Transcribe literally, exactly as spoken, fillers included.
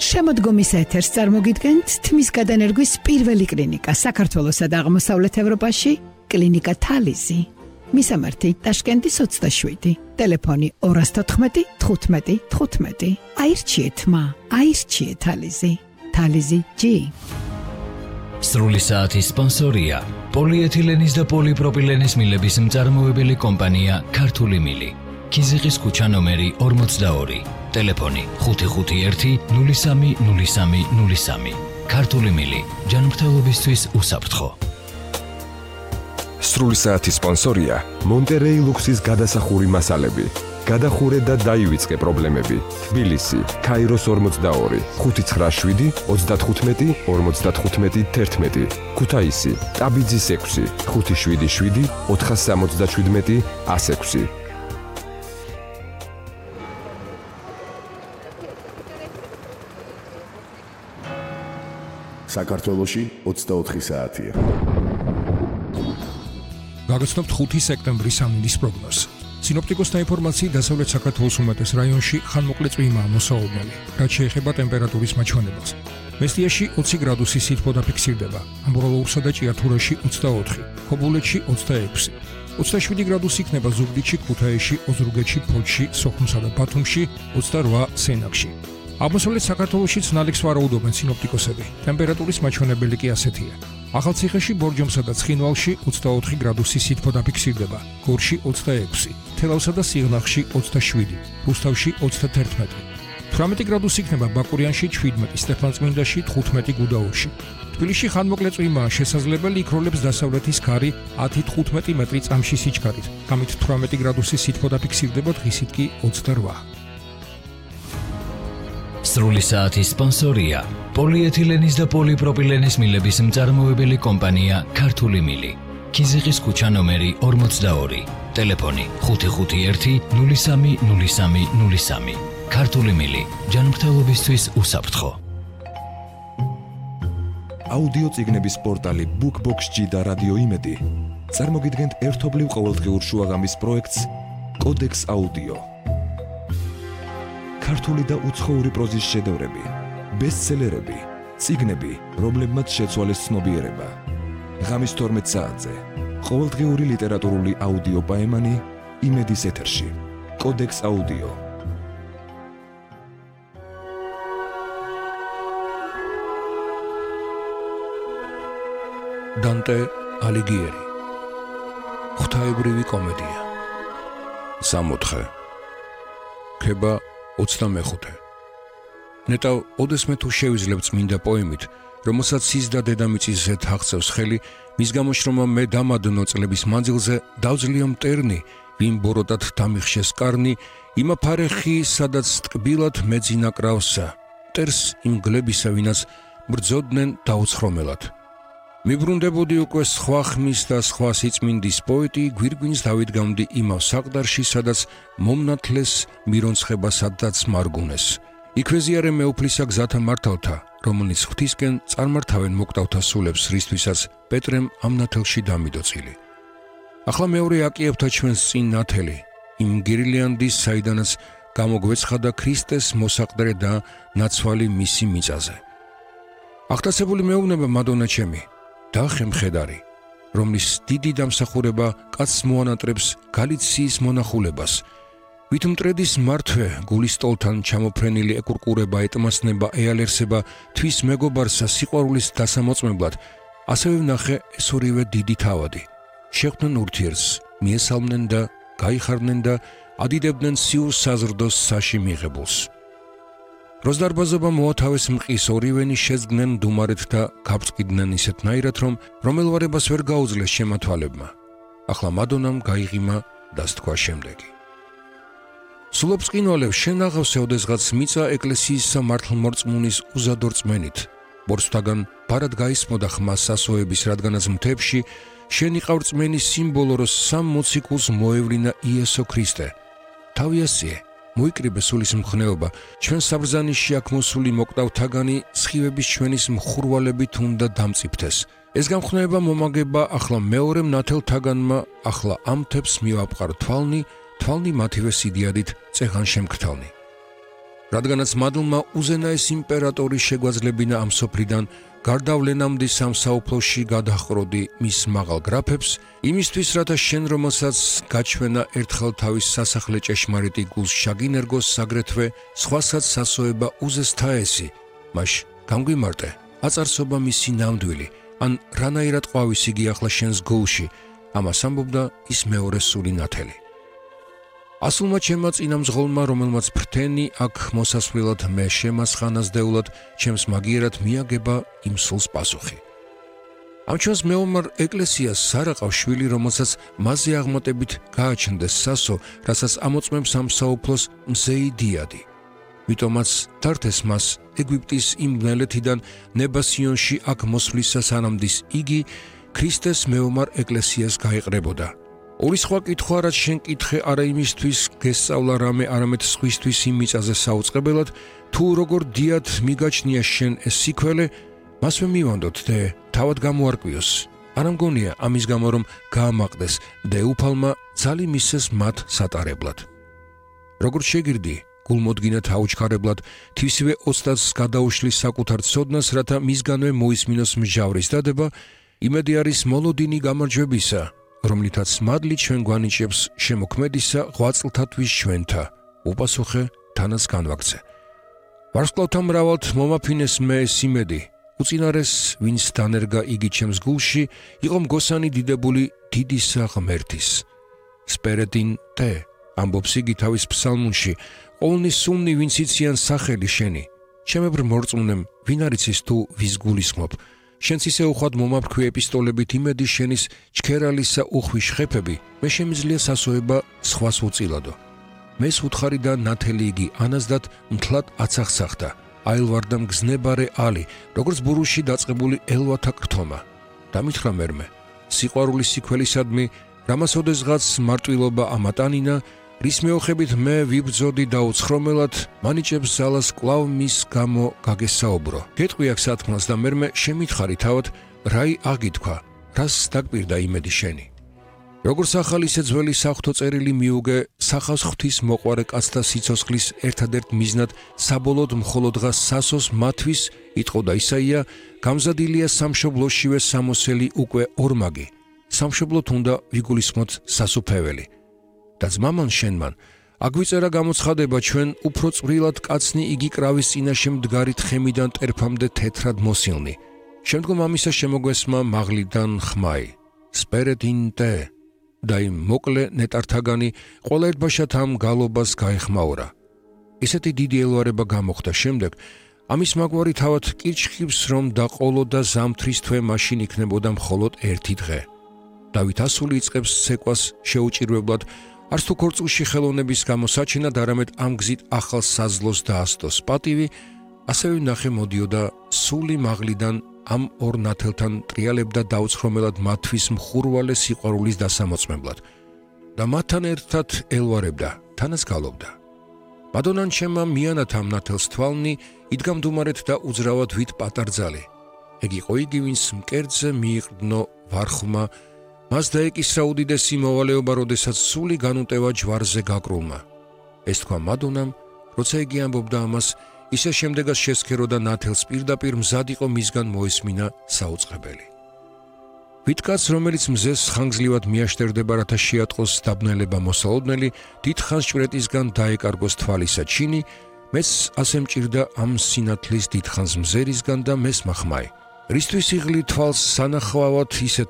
შემოდგომის ეთერს წარმოგიდგენთ თმის გადანერგვის პირველი კლინიკა საქართველოსა და აღმოსავლეთ ევროპაში, კლინიკა თალიზი. მისამართი ტაშკენტის ოცდაშვიდი, ტელეფონი ორ თოთხმეტი თხუთმეტი თხუთმეტი. აირჩიეთ მა, აირჩიეთ თალიზი. თალიზი ჯი. სრული საათის სპონსორია პოლიეთილენის და პოლიპროპილენის მილების მწარმოებელი კომპანია ქართული მილი. ქიზიყის ქუჩა ნომერი ორმოცდაორი. ტელეფონი ხუთი ხუთი ერთი ნული სამი ნული სამი ნული სამი. ქართული მილი, ჯანმრთელობისთვის უსაფრთხო. სრული საათის სპონსორია მონტერეი ლუქსის გადასახური მასალები. გადახურე და დაივიწყე პრობლემები. თბილისი, ქაიროს ორმოცდაორი, ხუთი ცხრა შვიდი ოცდათხუთმეტი ორმოცდათხუთმეტი თერთმეტი. ქუთაისი, ტაბიძის ექვსი, ხუთი შვიდი შვიდი ოთხასამოცდაშვიდმეტი ას ექვსი. საქართველოში ოცდაოთხი საათია. გაგაცნობთ ხუთი სექტემბრის ამინდის პროგნოზს. სინოპტიკოსთა ინფორმაციით დასავლეთ საქართველოს უმეტეს რაიონში ხანმოკლე წვიმაა მოსაუბნელი, რაც შეეხება ტემპერატურის მაჩვენებელს. მესტიაში ოცი გრადუსი სითბო დაფიქსირდება, ამბროლოურსა და ჭიათურაში ოცდაოთხი, ხობულეთში ოცდაექვსი. ოცდაშვიდი გრადუსი იქნება ზუგდიდში, ქუთაისში, ოზურგეთში, ფოთში, სოხუმსა და ბათუმში, ოცდარვა სენაკში. აღმოსავლეთ საქართველოშიც ნალექს ვარაუდობენ სინოპტიკოსები. ტემპერატურის მაჩვენებელი კი ასეთია. ახალციხეში, ბორჯომსა და ცხინვალში ოცდაოთხი გრადუსი სითბო დაფიქსირდება, გორში ოცდაექვსი, თელავსა და სიღნაღში ოცდაშვიდი, რუსთავში ოცდათერთმეტი. თვრამეტი გრადუსი იქნება ბაკურიანში, შვიდმეტი, სტეფანწმინდაში, თხუთმეტი გუდაურში. თბილისში ხანმოკლე წვიმაა შესაძლებელი, იქროლებს დასავლეთის ქარი ათი თხუთმეტი მეტრი წამში სიჩქარით, ამით თვრამეტი გრადუსი სითბო დაფიქსირდება, დღისით კი ოცდარვა. სრული საათის სპონსორია პოლიეთილენის და პოლიპროპილენის მილების მწარმოებელი კომპანია ქართული მილი. ქიზიყის ქუჩა ნომერი ორმოცდაორი. ტელეფონი ხუთი ხუთი ერთი ნული სამი ნული სამი ნული სამი. ქართული მილი, ჯანმრთელობისთვის უსაფრთხო. აუდიო წიგნების პორტალი BookBox-G და რადიო იმედი წარმოგიდგენთ ერთობლივ ყოველდღიურ შუაღამის პროექტს კოდექს აუდიო. ქართული და უცხოური პროზის შედევრები, ბესტსელერები, წიგნები, რომლებმაც შეცვალეს ცნობიერება. ღამის თორმეტ საათზე ყოველდღიური ლიტერატურული აუდიო პაემანი იმედის ეთერში. კოდექს აუდიო. დანტე ალიგიერი. ღვთაებრივი კომედია. სამოთხე. ქება ოცდამეხუთე. ნეტავ ოდესმე თუ შევიძლებ წმინდა პოემით, რომელსაც ის და დედამიწისზე თახცევს ხელი, მის გამოშრომა მე დამადნო წლების მანძილზე დავძლია მტერნი, ვინ ბოროტად დამიხშეს კარნი, იმა ფარეხი, სადაც ტკბილად მეძინა კრავსა, მტერს იმ გლებისა, ვინაც ბრძოდნენ დაუცხრომელად. მიბრუნდებოდი უკვე სხვა ხმის და სხვა სიწმინდის პოეტი, გვირგვინს დავიდგამდი იმავ საყდარში, სადაც მომნათლეს მირონცხება, სადაც მარგუნეს. იქვე ზიარე მეუფლისა გზათა მართავთა, რომელიც ღვთისკენ წარმართავენ მოკვდავთა სულებს, რისთვისაც პეტრემ ამ ნათელში დამიდო წილი. ახლა მეორე აკიებთა ჩვენს წინ ნათელი, იმ გირილიანდის, საიდანაც გამოგვეცხადა ქრისტეს მოსაყდრე და ნაცვალი მისი მიწაზე. აღტაცებული მეუბნება მადონა ჩემი, დახე მხედარი, რომლის დიდი დამსახურება კაცს მოანატრებს გალიციის მონახულებას. ვით მტრედის მართვე გულის ტოლთან ჩამოფრენილი ეკურკურება, ეტმასნება, ეალერსება თვის მეგობარსა სიყვარულის დასამოწმებლად, ასევე ვნახე ეს ორივე დიდი თავადი. შეხვდნენ ურთიერთს, მიესალმნენ და გაიხარდნენ და ადიდებდნენ სიუს საზრდოს საში მიღებულს. დროს დარბაზობა მოათავეს მყის, ორივენი შეძგნენ დუმარეთ და გაბწყიდნენ ისეთნაირად, რომ რომელვარებას ვერ გაუძლეს შემათვალებმა. ახლა მადონამ გაიღიმა და სთქვა შემდეგი. სულობს ყინვალებს, შენ აღავსე ოდესღაც მიწა ეკლესიისა მართლმორწმუნის უზადო რწმენით. ბორცვთაგან ბარად გაისმოდა ხმა სასოების, რადგანაც მთებში შენ იყავ რწმენის სიმბოლო, რომ სამ მოციქულს მოევლინა იესო ქრისტე. თავიასიე, მოიკრიბე სულის მხნეობა, ჩვენ საბრძანიში აქ მოსული მოკვდავთაგანი სხივების ჩვენის მხურვალებით უნდა დამწიფთეს. ეს გამხნეება მომაგება ახლა მეორე ნათელთაგანმა, ახლა ამ თებს მივაპყარ თვალნი, თვალნი მათივე სიდიადით წეღან შემქთალნი. რადგანაც მადლმა უზენაეს იმპერატორი შეგვაძლებინა ამ სოფლიდან გარდავლენამდე სამსაუფლოში გადაჰყროდი მის მაღალ გრაფებს, იმისთვის, რათა შენ, რომელსაც გაჩვენა ერთხელ თავის სასახლე ჭეშმარიტი გულს შაგინერგოს, აგრეთვე სხვასაც სასოება უზესთა ესი, მაშ გამგვიმარტე, აწარსობა მისი ნამდვილი, ან რანაირად ყვავის იგი ახლა შენს გულში, ამას ამბობდა ის მეორე სული ნათელი. ასულმა ჩემმა წინამძღოლმა, რომელმაც ფრთენი აქ მოსასვლელად მე შემასხანაზდეულად, ჩემს მაგიერად მიაგება იმ სულს პასუხი. ამ ჩვენს მეომარ ეკლესიას სარაყავ შვილი, რომელსაც მასზე აღმატებით გააჩნდეს სასო, რასაც ამოწმებს ამ საუფლოს მზეი დიადი. მიტომაც დართეს მას ეგვიპტის იმ მელეთიდან ნებასიონში აქ მოსვლისა სანამდის იგი ქრისტეს მეომარ ეკლესიას გაეყრებოდა. ორი სხვა კითხვა, რაც შენ კითხე არა იმისთვის გესწავლა რამე, არამედ სხვისთვის იმ მიწაზე საუწყებელად, თუ როგორ დიად მიგაჩნია შენ ეს სიქველე, მასვე მივანდოთ და თავად გამოარკვიოს. არ ამგონია ამის გამო, რომ გაამაყდეს და უფალმა ძალი მისცეს მათ სატარებლად. როგორც შეგირდი, გულმოდგინათ აუჩქარებლად, თვისივე ოცდას გადაუშლის საკუთარ ცოდნას, რათა მისგანვე მოისმინოს მსჯავრის დადება, იმედი არის მოლოდინი გამარჯვებისა, რომლითაც მადლი ჩვენ გვანიჭებს შემოქმედისა ღვაწლთათვის ჩვენთა, უპასუხე თანაც განვაგრძე. ვარსკვლავთა მრავალთ მომაფინეს მე ეს იმედი, უწინარეს ვინც დანერგა იგი ჩემს გულში, იყო მგოსანი დიდებული დიდისა ღმერთის. სპერედინ ტე, ამბობს იგი თავის ფსალმუნში, ყოვლნი სულნი ვინც იციან სახელი შენი, ჩემებრ მორწმუნემ, ვინ არიცის თუ ვის გულისხმობ, შენც ისე უხვად მომაფრქვი ეპისტოლებით იმედი შენის ჩქერალისა უხვის ხეფები, მე შემიძლია სასოება სხვას უწილადო. მეს უთხარი და ნათელი იგი ანაზდათ მთლად აცახსახდა, აილვარდა მგზნებარე ალი, როგორც ბურუში დაწყებული ელვათა კრთომა. დამითხრა მერმე, სიყვარულის სიქველისადმი, რამას ოდესღაც მარტვილობა ამატანინა, რის მეოხებით მე ვიბრძოდი და უცხრომელად, მანიჭებს ძალას კვლავ მის გამო გაგესაუბრო. გეტყვი აქ სათქმელს და მერმე შემითხარი თავად, რაი აგითქვა, რას დაგპირდა იმედი შენი. როგორც ახალი ისე ძველი საღვთო წერილი მიუგე, სახავს ღვთის მოყვარე კაცთა სიცოცხლის ერთადერთ მიზნად საბოლოოდ მხოლოდღა სასოს მათვის, იტყოდა ისაია, გამზადილია სამშობლოშივე სამოსელი უკვე ორმაგი, სამშობლოთ უნდა ვიგულისხმოთ სასუფეველი. და ძმამან შენმან, აგვიწერა გამოცხადება ჩვენ უფრო წვრილად კაცნი იგი კრავის წინაშე მდგარი თხემიდან ტერფამდე თეთრად მოსილნი. შემდგომ ამისა შემოგვესმა მაღლიდან ხმაი, სპერედინტე, და იმ მოკლე ნეტართაგანი ყველა ერთბაშად ამ გალობას გაეხმაურა. ისეთი დიდი ელვარება გამოხდა შემდეგ, ამის მაგვარი თავად კირჩხიბს რომ დაყოლო და ზამთრის თვე მაშინ იქნებოდა მხოლოდ ერთი დღე. დავით ასული იწყებს ცეკვას შეუჭირვებლად, არც თუ ქორწილში ხელოვნების გამოსაჩენად, არამედ ამ გზით ახალ საზლოს დაასდოს პატივი, ასევე ნახე მოდიოდა სული მაღლიდან ამ ორ ნათელთან ტრიალებდა დაუცხრომელად მათვის მხურვალე სიყვარულის დასამოწმებლად და მათთან ერთად ელვარებდა, თანაც გალობდა. მადონან ჩემმა მიანათ ამ ნათელს თვალნი, იდგა მდუმარეთ და უძრავად ვით პატარძალი. ეგ იყო იგი, ვინც მკერდზე მიიყრდნო ვარხმა, მას დაეკისრა უდიდესი მოვალეობა, როდესაც სული განუტევა ჯვარზე გაკრულმა. ეს თქვა მადონამ, როცა იგი ამბობდა ამას, ისე შემდეგაც შესქერო და ნათელს პირდაპირ მზად იყო მისგან მოესმინა საუწყებელი. ვითკაც, რომელიც მზეს ხანგრძლივად მიაშტერდება, რათა შეატყოს დაბნელება მოსალოდნელი, დიდხანს ჭვრეტისგან დაეკარგოს თვალისა ჩინი, მეც ასე მჭირდა ამ სინათლის დიდხანს მზერისგან და მესმა ხმაი. რისთვის იღლი თვალს სანახვავად ისე